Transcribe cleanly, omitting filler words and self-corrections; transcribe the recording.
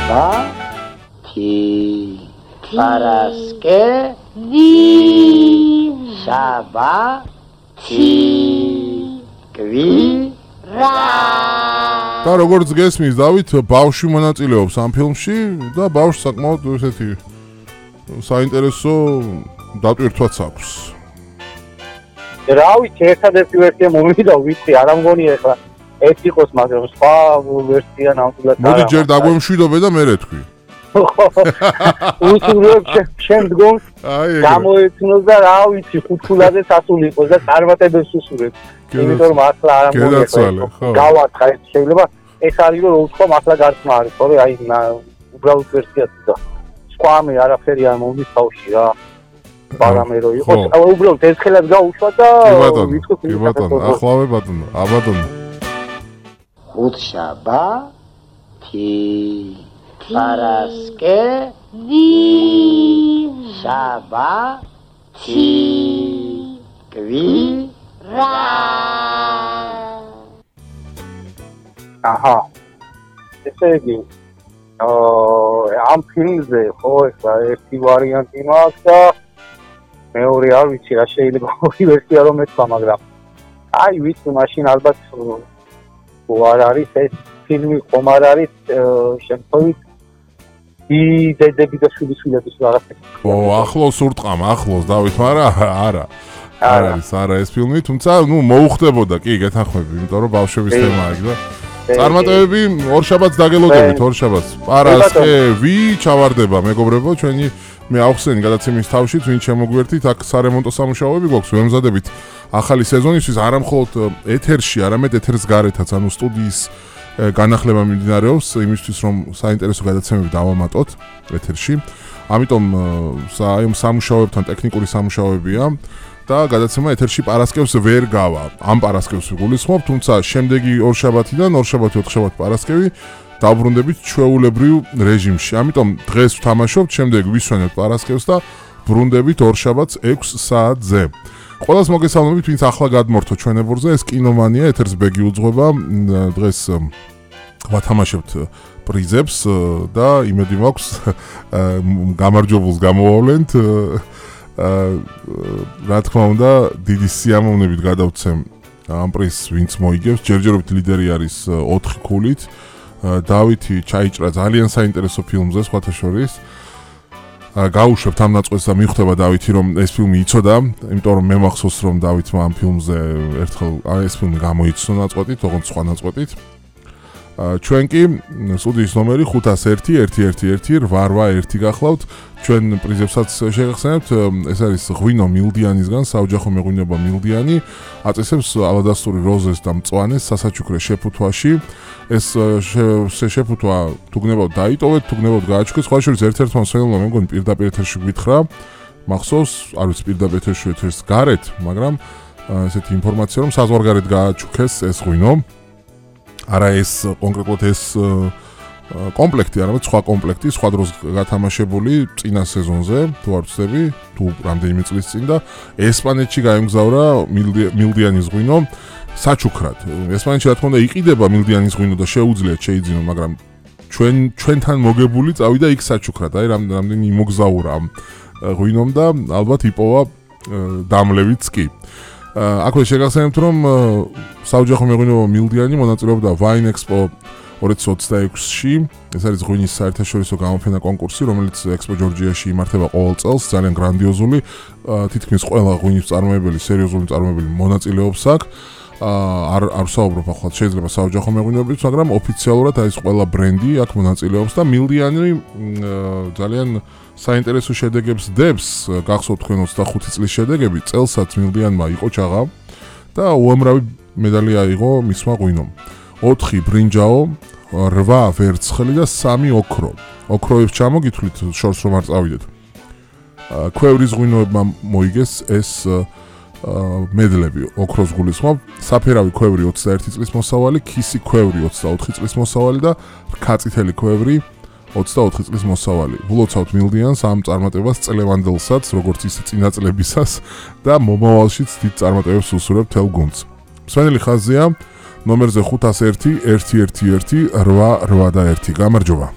Шаба Ти Параске Ви Шаба Ти Кви Ра და როგორც გესმის დავით ბავშვი მონაწილეობს ამ ფილმში და ბავშვს საკმაოდ ესეთი საინტერესო დატვირთვაც აქვს. რა ვიცი, ერთადერთი ვერსია მომივიდა, ვიცი, არ ამგონია ახლა ეს იყოს, მაგრამ სხვა ვერსია ნამდვილად მოდი ჯერ დაგვემშვიდობე და მერე თქვი. უსურვებ შემდგომ გამოეცნოს და რა ვიცი, ხუთქულაზე სასული იყოს და წარმატებებს უსურვებ. იმიტომ რომ ახლა არ ამგონია. გავათხარ, შეიძლება ეს არის რომ უთქვა ახლა გარსმა არის, ხოლმე აი უბრალოდ ვერსიაც და სხვა მე არაფერი არ მომდის თავში რა. პარამერო იყოს, უბრალოდ ერთხელაც გაუშვა და ვიცხო კი ბატონო, ახლავე ბატონო, აბატონო. Უთშაბა Ти Параске Ви Шаба Ти Кви Ра აჰა ესე იგი ამ ფილმზე ხო ესა ერთი ვარიანტი მაქვს და მეორე არ ვიცი რა შეიძლება ორი ვერსია რომ ეთქვა მაგრამ აი ვიცი მაშინ ალბათ არ არის ეს ფილმი ხომ არ არის შემთხვევით დედები და შვილიშვილების რაღაცა ო ახლოს ურტყამ ახლოს დავით მაგრამ არა არა ეს ფილმი თუმცა ნუ მოუხდებოდა კი გეთანხმები იმიტომ რომ ბავშვების თემაა იქ და წარმატებები ორშაბათს დაგელოდებით ორშაბათს პარასკე ვი ჩავარდება მეგობრებო ჩვენი მე ავხსენი გადაცემის თავში ვინ შემოგვერთით აქ სარემონტო სამუშაოები გვაქვს ვემზადებით ახალი სეზონისთვის არა მხოლოდ ეთერში არამედ ეთერს გარეთაც ანუ სტუდიის განახლება მიმდინარეობს იმისთვის რომ საინტერესო გადაცემები დავამატოთ ეთერში ამიტომ აი სამუშაოებთან ტექნიკური სამუშაოებია და გადაცემა ეთერში პარასკევს ვერ გავა ამ პარასკევს ვიგულისხმობ თუმცა შემდეგი ორშაბათიდან ორშაბათი ოთხშაბათი პარასკევი დავბრუნდებით ჩვეულებრივ რეჟიმში ამიტომ დღეს ვთამაშობთ შემდეგ ვისვენებთ პარასკევს და ბრუნდებით ორშაბათს 6 საათზე ყველას მოგესალმებით ვინც ახლა გადმორთო ჩვენებურზე ეს კინომანია ეთერს ბეგი უძღვება დღეს ვათამაშებთ პრიზებს და იმედი მაქვს გამარჯვებულს გამოვავლენთ რა თქმა უნდა დიდი სიამოვნებით გადავცემ ამ პრიზს ვინც მოიგებს ჯერჯერობით ლიდერი არის 4 ქულით დავითი ჩაიჭრა ძალიან საინტერესო ფილმზე სხვათა შორის გაუშვებთ ამ ნაწყვეტს და მიხვდება დავითი რომ ეს ფილმი იცოდა იმიტომ რომ მე მახსოვს რომ დავითმა ამ ფილმზე ერთხელ ეს ფილმი გამოიცნო ნაწყვეტით ოღონდ სხვა ნაწყვეტით ჩვენ კი სტუდიის ნომერი 501-111-881 გახლავთ ჩვენ პრიზებსაც შეგახსენებთ ეს არის ღვინო მილდიანისგან საოჯახო მეღვინება მილდიანი აწესებს ალადასტური როზეს და მწვანეს სასაჩუქრე შეფუთვაში ეს შეფუთვა თუ გნებავთ დაიტოვეთ თუ გნებავთ გააჩუქეთ სხვა შორის ერთ-ერთმა მსმენელმა მე მგონი პირდაპირ ეთერში გვითხრა მახსოვს არ ვიცი პირდაპირ ეთერს გარეთ მაგრამ ესეთი ინფორმაცია რომ საზღვარგარეთ გააჩუქეს ეს ღვინო არა ეს კონკრეტულად ეს კომპლექტი არამედ სხვა კომპლექტი სხვა დროს გათამაშებული წინა სეზონზე თუ არ ვცდები თუ რამდენიმე წლის წინ და ესპანეთში გაემგზავრა მილდიანის ღვინო საჩუქრად ესპანეთში რა თქმა უნდა იყიდება მილდიანის ღვინო და შეუძლიათ შეიძინო მაგრამ ჩვენთან მოგებული წავიდა იქ საჩუქრად აი რამდენი იმოგზაურა ამ ღვინომ და ალბათ იპოვა დამლევიც კი აქვე შეგახსენებთ რომ საოჯახო მეღვინეობა მილდიანი მონაწილეობდა Wine Expo 2026-ში ეს არის ღვინის საერთაშორისო გამოფენა კონკურსი რომელიც Expo Georgia-ში იმართება ყოველ წელს ძალიან გრანდიოზული თითქმის ყველა ღვინის მწარმოებელი სერიოზული მწარმოებელი მონაწილეობს აქ არ ვსაუბრობ ახლა შეიძლება საოჯახო მეღვინეობებით მაგრამ ოფიციალურად ეს ყველა ბრენდი აქ მონაწილეობს და მილდიანი ძალიან საინტერესო შედეგებს დებს გახსოვთ თქვენ 25 წლის შედეგები წელსაც მილდიანმა იყო ჩაღა და უამრავი მედალი აიღო მისმა ღვინომ 4 ბრინჯაო 8 ვერცხლი და 3 ოქრო ოქროებს ჩამოგითვლით შორს რომ არ წავიდეთ ქვევრის ღვინოებმა მოიგეს ეს მედლები ოქროს გულისხმობ საფერავი ქვევრი 21 წლის მოსავალი ქისი ქვევრი 24 წლის მოსავალი და რქაწითელი ქვევრი 24 წლის მოსავალი. ვლოცავთ მილდიანს ამ წარმატებას წლევანდელსაც, როგორც ისე წინა წლებისას და მომავალშიც დიდ წარმატებებს უსურვებ თელ გუნდს. მსმენელი ხაზია ნომერზე 501-111-881. გამარჯობა.